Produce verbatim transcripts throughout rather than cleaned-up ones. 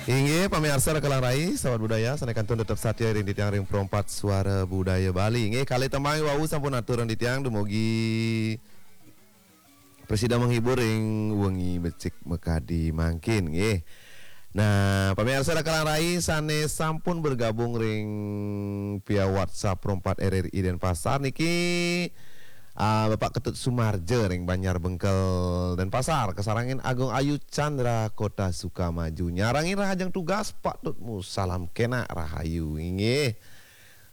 Inggih, pamiarsa Raka Langrai, sahabat budaya, sané kantun tetep satia ring titiang ring Pro empat Suara Budaya Bali. Inggih, kalih tembang wau sampun atur ring titiang dumugi prasida menghibur ring wengi becik makadi mangkin, nggih. Nah, pamiarsa Raka Langrai sané sampun bergabung ring via WhatsApp Pro empat R R I Denpasar niki, ah, Bapak Ketut Sumarja ring Banjar Bengkel Denpasar, kasarengin Agung Ayu Chandra Kota Sukamaju. Nyarengin rahajeng tugas, Pak Tutmu, salam kénak rahayu, inggih.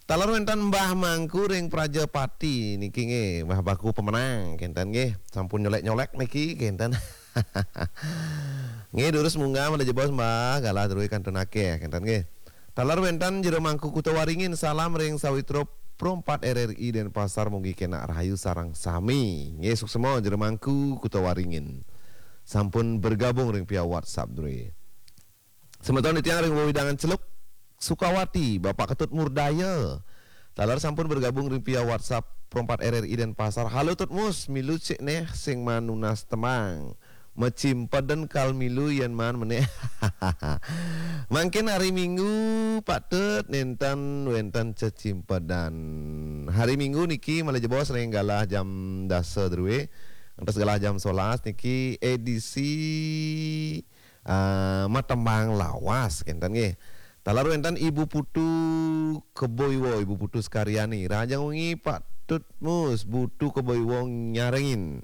Taler wénten Mbah Mangku ring Prajapati niki nggih, Mbah Baku Pemenang kénten nggih. Sampun nyolék-nyolék niki kénten. Nggih, durus munggah malih jebos Mbah, galah drué kantun akéh kénten nggih. Taler wénten Jero Mangku Kuta Waringin, salam ring sawitra Pro empat R R I Denpasar, mugi kénak rahayu sareng sami. Nggih, suksma Jero Mangku Kuta Waringin. Sampun bergabung ring via WhatsApp drué. Semeton titiang ring wewidangan Celuk Sukawati, Bapak Ketut Murdaya. Taler sampun bergabung ring via WhatsApp Pro empat R R I Denpasar. Halo Tut Mus, milu cik neh sing maan nunas tembang. Macimpeden kal milu yén maan menéh. Mangkin hari Minggu, Pak Tut, nénten wénten cecimpedan. Hari Minggu niki malih jebos ring galah jam dasa drué. Ngantos galah jam solas niki edisi ah, matembang lawas, kénten nggih. Taler wénten Ibu Putu Kebo Iwa, Ibu Putu Sekaryani. Rahajeng wengi, Pak Tut Mus, Putu Kebo Iwa nyarengin.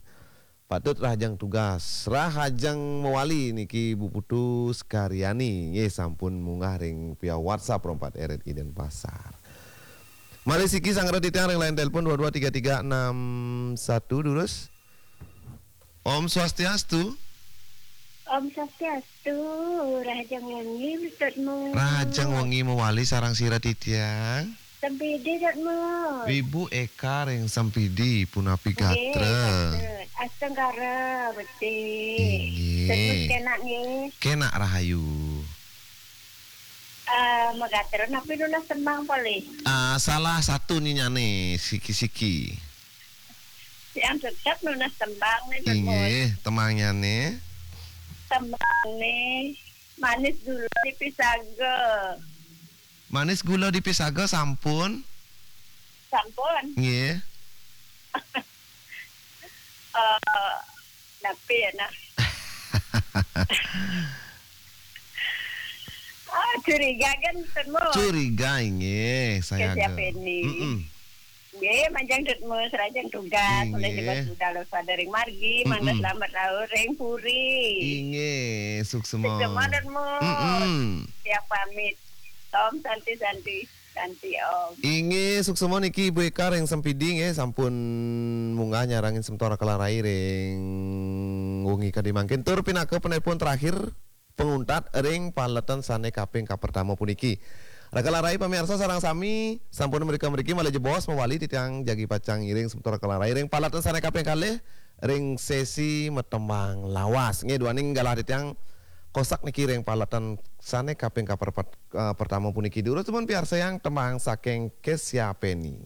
Pak Tut rahajeng tugas, rahajeng mawali niki Ibu Putu Sekaryani. Nggih, sampun munggah ring via WhatsApp Pro empat R R I Denpasar. Malih siki sanggra titiang ring line telepon dua dua tiga tiga enam satu, durus. Om Swastiastu. Om Swastiastu, rahajeng wengi, Tut Mus. Rahajeng wengi mawali sareng sira titiang. Sempidi, Tut Mus. Ibu Eka ring Sempidi, punapi gatra? Nggih, gatra. Astungkara, becik. Inggih. Tut Mus kénak nggih. Kénak rahayu. Ah, magatra napi nunas tembang polih? Ah, salah satu nyinyane, siki-siki. Yang tetep nunas tembang nih, Tut Mus. Inggih, tembangnyané. Tembangné Manis Gula di Pisaga. Manis Gula di Pisaga sampun? Sampun. Nggih. Eh, napi ya, nah? Ah, curiga kan, Tut Mus? Curiga, inggih, saya Ke siapa agak ini? Mm-mm. Nggih, majeng Tut Mus, rahajeng tugas, Inggih. Malih jebos budal sadering margi, mangda Mm-mm. selamat rauh ring puri. Inggih, suksma. Suksma, Tut Mus. Mm-mm. Tiang pamit. Om Santi, Santi, Santi Om. Inggih, suksma niki Ibu Eka ring Sempidi nggih, sampun munggah nyarengin semeton Raka Langrai ring wengi kadi mangkin. Tur pinaka penelpon terakhir, panguntat ring paletan sane kaping kapertama puniki. Raka Langrai pamiarsa sareng sami, sampun mrika-mriki malih jebos mawali titiang jagi pacang ngiring semeton Raka Langrai ring paletan sane kaping kalih ring sesi matembang lawas. Nggih, duaning galah titiang kosak niki ring paletan sane kaping kaperpat-, eh, pertama puniki. Durus pun piarsayang tembang saking Kesya Penny.